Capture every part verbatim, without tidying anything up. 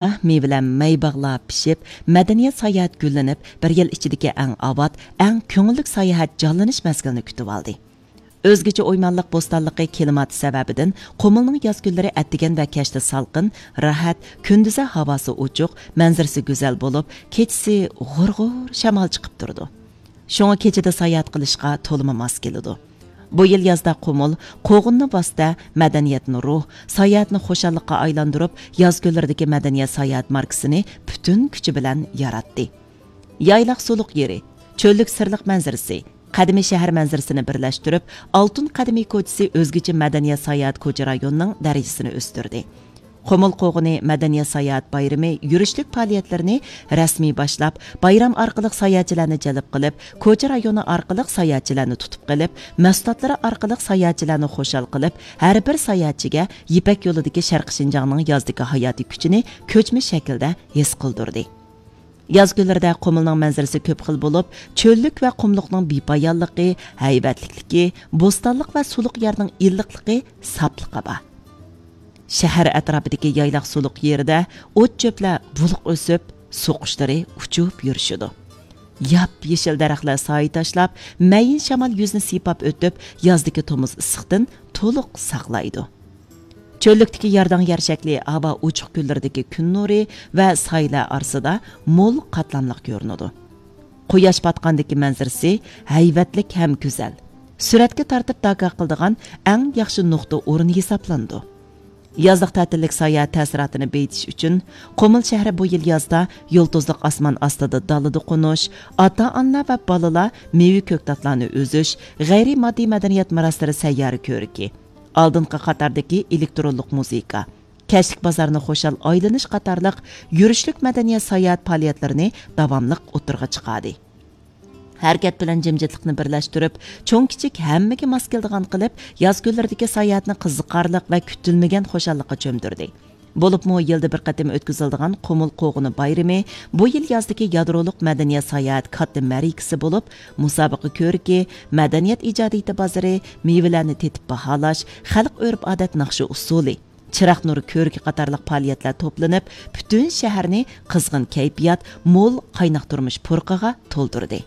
مېۋىلەر مەي باغلار پىشىپ، مەدەنىيەت ساياھەت گۈللىنىپ، بىر يىل ئىچىدىكى ئەڭ ئاۋات، ئەڭ كۆڭۈللۈك ساياھەت جانلىنىش مەزگىلىنى كۈتۈۋالدى. ئۆزگىچە ئويمانلىق بوستانلىقى كىلىماتى سەۋەبىدىن، قۇمۇلنىڭ ياز كۈنلىرى ئەتىگەن ۋە كەچتە سالقىن، راھەت، كۈندۈزى ھاۋاسى ئوچۇق، مەنزىرىسى گۈزەل بولۇپ، كېچىسى غۇر-غۇر شامال چىقىپ تۇرىدۇ. شۇڭا كېچىدە ساياھەت قىلىشقا تولىمۇ ماس كېلىدۇ. بۇ يىل يازدا قۇمۇل، قوغۇننى ۋاسىتە، مەدەنىيەتنى روھ، ساياھەتنى خۇشاللىققا ئايلاندۇرۇپ، ياز كۈنلىرىدىكى مەدەنىيەت ساياھەت ماركىسىنى پۈتۈن كۈچى بىلەن ياراتتى. يايلاق سۇلۇق يېرى، چۆللۈك سىرلىق مەنزىرىسى، قەدىمىي شەھەر مەنزىرىسىنى بىرلەشتۈرۈپ، ئالتۇن قەدىمىي كوچىسى ئۆزگىچە مەدەنىيەت ساياھەت كوچا رايونىنىڭ دەرىجىسىنى ئۆستۈردى. قۇمۇل قوغۇنى مەدەنىيەت ساياھەت بايرىمى يۈرۈشلۈك پائالىيەتلىرىنى رەسمىي باشلاپ، بايرام ئارقىلىق ساياھەتچىلەرنى جەلپ قىلىپ، كوچا رايونى ئارقىلىق ساياھەتچىلەرنى تۇتۇپ قېلىپ، مەھسۇلاتلىرى ئارقىلىق ساياھەتچىلەرنى خۇشال قىلىپ، ھەر بىر ساياھەتچىگە يىپەك يولىدىكى شەرقىي شىنجاڭنىڭ يازدىكى ھاياتىي كۈچىنى كۆچمە شەكىلدە ھېس قىلدۇردى. ياز كۈنلىرىدە قۇمۇلنىڭ مەنزىرىسى كۆپ خىل بولۇپ، چۆللۈك ۋە قۇملۇقنىڭ بىپايانلىقى، ھەيۋەتلىكلىكى، بوستانلىق ۋە سۇلۇق يەرنىڭ ئىللىقلىقى، ساپلىقى بار. شەھەر ئەتراپىدىكى يايلاق سۇلۇق يېرىدە ئوت-چۆپلەر بۇلۇق ئۆسۈپ، سۇ قۇشلىرى ئۇچۇپ يۈرۈشىدۇ. ياپيېشىل دەرەخلەر سايە تاشلاپ، مەيىن شامال يۈزنى سىيپاپ ئۆتۈپ، يازدىكى تومۇز ئىسسىقتىن تولۇق ساقلايدۇ. چۆللۈكتىكى يارداڭ يەر شەكلى ھاۋا ئوچۇق كۈنلىرىدىكى كۈن نۇرى ۋە سايىلەر ئارىسىدا مول قاتلاملىق كۆرۈنىدۇ. قۇياش پاتقاندىكى مەنزىرىسى ھەيۋەتلىك ھەم گۈزەل. سۈرەتكە تارتىپ داكا قىلىدىغان ئەڭ ياخشى نۇقتا ئورنى ھېسابلىنىدۇ. يازلىق تەتىللىك ساياھەت تەسىراتىنى بېيىتىش ئۈچۈن، قۇمۇل شەھىرى بۇ يىل يازدا يۇلتۇزلۇق ئاسمان ئاستىدا دالىدا قونۇش، ئاتا-ئانىلار ۋە بالىلار مېۋە-كۆكتاتلارنى ئۈزۈش، غەيرىي ماددىي مەدەنىيەت مۇراسلىرى سەييارە كۆرىكى، ئالدىنقى قاتاردىكى ئېلېكترونلۇق مۇزىكا، كەچلىك بازارنى خۇشال ئايلىنىش قاتارلىق يۈرۈشلۈك مەدەنىيەت ساياھەت پائالىيەتلىرىنى داۋاملىق ئوتتۇرىغا چىقاردى. ھەرىكەت بىلەن جىمجىتلىقنى بىرلەشتۈرۈپ، چوڭ-كىچىك ھەممىگە ماس كېلىدىغان قىلىپ، ياز كۈنلىرىدىكى ساياھەتنى قىزىقارلىق ۋە كۈتۈلمىگەن خۇشاللىققا چۆمدۈردى. بولۇپمۇ يىلدا بىر قېتىم ئۆتكۈزۈلىدىغان قۇمۇل قوغۇنى بايرىمى بۇ يىل يازدىكى يادرولۇق مەدەنىيەت ساياھەت كاتتا مەرىكىسى بولۇپ، مۇسابىقە كۆرىكى، مەدەنىيەت ئىجادىيىتى بازىرى، مېۋىلەرنى تېتىپ باھالاش، خەلق ئۆرپ-ئادەت ناخشا ئۇسسۇلى، چىراغ نۇرى كۆرىكى قاتارلىق پائالىيەتلەر توپلىنىپ، پۈتۈن شەھەرنى قىزغىن كەيپىيات، مول قايناق تۇرمۇش پۇرىقىغا تولدۇردى.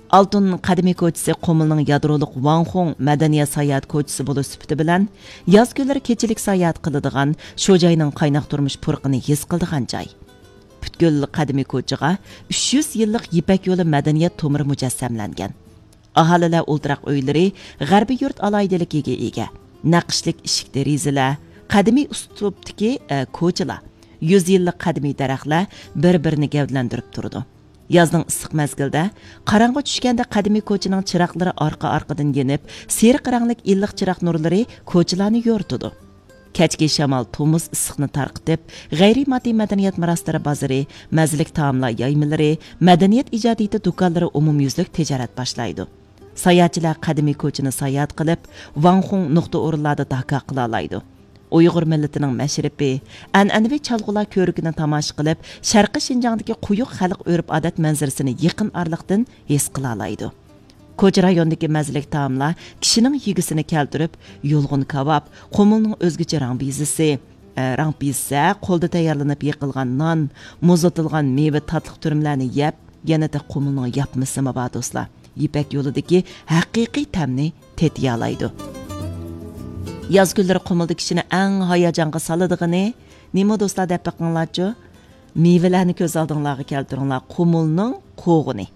ئالتۇن قەدىمىي كوچىسى قۇمۇلنىڭ يادرولۇق ۋاڭخۇڭ مەدەنىيەت ساياھەت كوچىسى بولۇش سۈپىتى بىلەن، ياز كۈنلىرى كېچىلىك ساياھەت قىلىدىغان، شۇ جاينىڭ قايناق تۇرمۇش پۇرىقىنى ھېس قىلىدىغان جاي. پۈتكۈل قەدىمىي كوچىغا ئۈچ يۈز يىللىق يىپەك يولى مەدەنىيەت تومۇرى مۇجەسسەملەنگەن. ئاھالىلەر ئولتۇراق ئۆيلىرى، غەربىي يۇرت ئالاھىدىلىكىگە ئىگە. نەقىشلىك ئىشىك دېرىزىلەر، قەدىمىي ئۇسلۇبتىكى، ئە، كوچىلار، يۈز يىللىق قەدىمىي دەرەخلەر بىر-بىرىنى گەۋدىلەندۈرۈپ تۇرىدۇ. يازنىڭ ئىسسىق مەزگىلىدە، قاراڭغۇ چۈشكەندە قەدىمىي كوچىنىڭ چىراغلىرى ئارقا-ئارقىدىن يېنىپ، سېرىق رەڭلىك ئىللىق چىراغ نۇرلىرى كوچىلارنى يورۇتىدۇ. كەچكى شامال تومۇز ئىسسىقنى تارقىتىپ، غەيرىي ماددىي مەدەنىيەت مۇراسلىرى بازىرى، مەززىلىك تائاملار يايمىلىرى، مەدەنىيەت ئىجادىيىتى دۇكانلىرى ئومۇميۈزلۈك تىجارەت باشلايدۇ. ساياھەتچىلەر قەدىمىي كوچىنى ساياھەت قىلىپ، ۋاڭخۇڭ نۇقتا ئورۇنلاردا داكا قىلالايدۇ. ئۇيغۇر مىللىتىنىڭ مەشرىپى، ئەنئەنىۋى چالغۇلار كۆرىكىنى تاماشا قىلىپ، شەرقىي شىنجاڭدىكى قويۇق خەلق ئۆرپ-ئادەت مەنزىرىسىنى يېقىن ئارىلىقتىن ھېس قىلالايدۇ. كوچا رايونىدىكى مەززىلىك تائاملار كىشىنىڭ يېگۈسىنى كەلتۈرۈپ، يۇلغۇن كاۋاپ، قۇمۇلنىڭ ئۆزگىچە راڭ بىزىسى، ئە، راڭ بىزسە، قولدا تەييارلىنىپ يېقىلغان نان، مۇزلىتىلغان مېۋە تاتلىق تۈرۈملەرنى يەپ، يەنە-دە قۇمۇلنىڭ ياپمىسىمۇ بار، دوستلار. يىپەك يولىدىكى ھەقىقىي تەمنى تېتىيالايدۇ. ياز كۈنلىرى قۇمۇلدا كىشىنى ئەڭ ھاياجانغا سالىدىغىنى نېمە، دوستلار، دەپ بېقىڭلارچۇ؟ مېۋىلەرنى كۆز ئالدىڭلارغا كەلتۈرۈڭلار. قۇمۇلنىڭ قوغۇنى.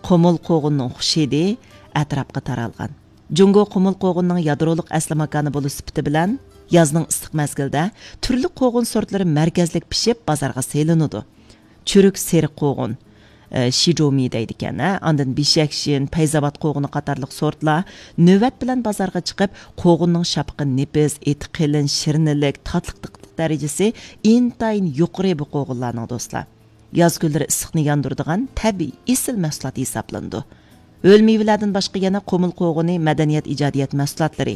قۇمۇل قوغۇننىڭ خۇش ھىدى ئەتراپقا تارالغان. جۇڭگو قۇمۇل قوغۇننىڭ يادرولۇق ئەسلى ماكانى بولۇش سۈپىتى بىلەن، يازنىڭ ئىسسىق مەزگىلىدە تۈرلۈك قوغۇن سورتلىرى مەركەزلىك پىشىپ، بازارغا سېلىنىدۇ. چۈرۈك سېرىق قوغۇن، ئە، شىجومى دەيدىكەن، ھە، ئاندىن بېشەكشىن، پەيزاۋات قوغۇنى قاتارلىق سورتلار نۆۋەت بىلەن بازارغا چىقىپ، قوغۇننىڭ شاپىقى نېپىز، ئېتى قېلىن، شىرنىلىك، تاتلىقلىق دەرىجىسى ئىنتايىن يۇقىرى بۇ قوغۇنلارنىڭ، دوستلار. ياز كۈنلىرى ئىسسىقنى ياندۇرىدىغان تەبىئىي ئېسىل مەھسۇلات ھېسابلىنىدۇ. ھۆل مېۋىلەردىن باشقا يەنە قۇمۇل قوغۇنى، مەدەنىيەت ئىجادىيەت مەھسۇلاتلىرى،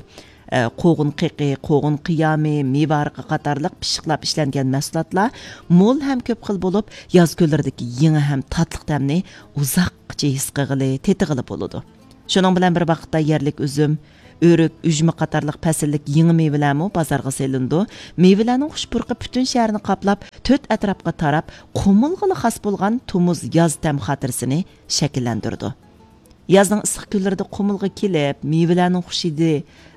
ئە، قوغۇن قېقى، قوغۇن قىيامى، مېۋە ھارىقى قاتارلىق پىششىقلاپ ئىشلەنگەن مەھسۇلاتلار مول ھەم كۆپ خىل بولۇپ، ياز كۈنلىرىدىكى يېڭى ھەم تاتلىق تەمنى ئۇزاققىچە ھېس قىلغىلى، تېتىغىلى بولىدۇ. شۇنىڭ بىلەن بىر ۋاقىتتا يەرلىك ئۈزۈم، ئۆرۈك، ئۈجمە قاتارلىق پەسىللىك يېڭى مېۋىلەرمۇ بازارغا سېلىنىدۇ. مېۋىلەرنىڭ خۇش پۇرىقى پۈتۈن شەھەرنى قاپلاپ، تۆت ئەتراپقا تاراپ، قۇمۇلغىلا خاس بولغان تومۇز ياز تەم خاتىرىسىنى شەكىللەندۈرىدۇ. يازنىڭ ئىسسىق كۈنلىرىدە قۇمۇلغا كېلىپ، مېۋىلەرنىڭ خۇش ھىدى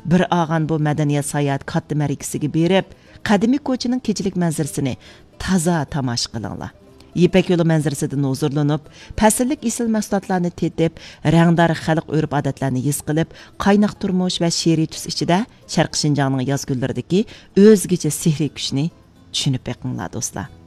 بىر ئالغان بۇ مەدەنىيەت ساياھەت كاتتا مەرىكىسىگە بېرىپ، قەدىمىي كوچىنىڭ كېچىلىك مەنزىرىسىنى تازا تاماشا قىلىڭلار. يىپەك يولى مەنزىرىسىدىن ھۇزۇرلىنىپ، پەسىللىك ئېسىل مەھسۇلاتلارنى تېتىپ، رەڭدار خەلق ئۆرپ-ئادەتلەرنى ھېس قىلىپ، قايناق تۇرمۇش ۋە شېئىرىي تۈس ئىچىدە شەرقىي شىنجاڭنىڭ ياز كۈنلىرىدىكى ئۆزگىچە سېھرىي كۈچىنى چۈشىنىپ بېقىڭلار، دوستلار.